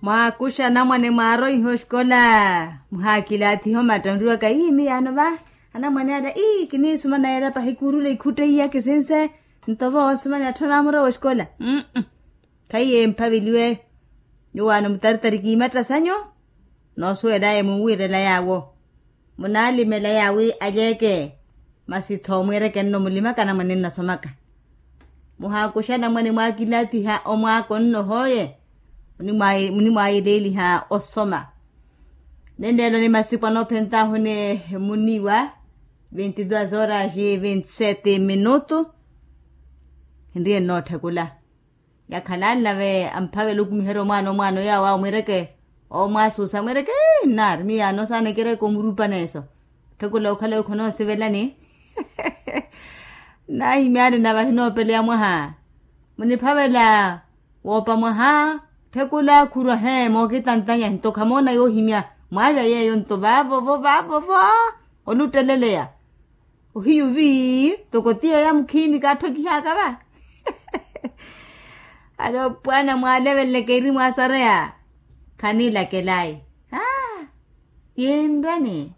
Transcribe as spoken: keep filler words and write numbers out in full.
Mwaakuxa anamwane mwaaroiha oxikola. Muhaakilaathiha omatta onriwaka ii miyaano va. Anamwane ala ii kiniisuma nayeera pahi kuurula ikhutte iya kisinse. Nto vo osumani atthu anaamuro woxikola. Khaiye mphaveliwe. Nyuwaano mutaritari kiimatta sanyu. Noosuwelaye munwiirela yaawo. Munaalimela yaawi alyeeke. Masi tho mwiireke nno mulimaka anamwane nnasomaka. Muhaakuxa anamwane mwaakilaathiha omwaako nno hooye. Munimwaayeleeliha osoma. Nenleelo ni masiku anoophentaahu ni muniwa. Vinte duas horas e vinte sete minutu. Hinriye nnootthekula. Yakhalanlave amphavela okumiherya omwaana omwaana oyawo awo mwiireke. Omwaasuusa mwiireke. Nnaari miyaano saana ekireke omurupa neeso. Tthekula okhala wi khonoosivelani. Nnahimyani navahi noopeleya mwaha. Muniphavela woopa mwaha. Tthekula khurwa he mookitantanya nto khamoona yoohimya. Mwaavya yeeyo nto vaavovo vaavovo. Olutteleleya. Ohiyu vii. Toko ti yeeya mukhiini kaatthokihaaka va. Alo pwaana mwaaleveleleke iri mwaasareya. Khaniilakelayi. Aa. Yeenrani.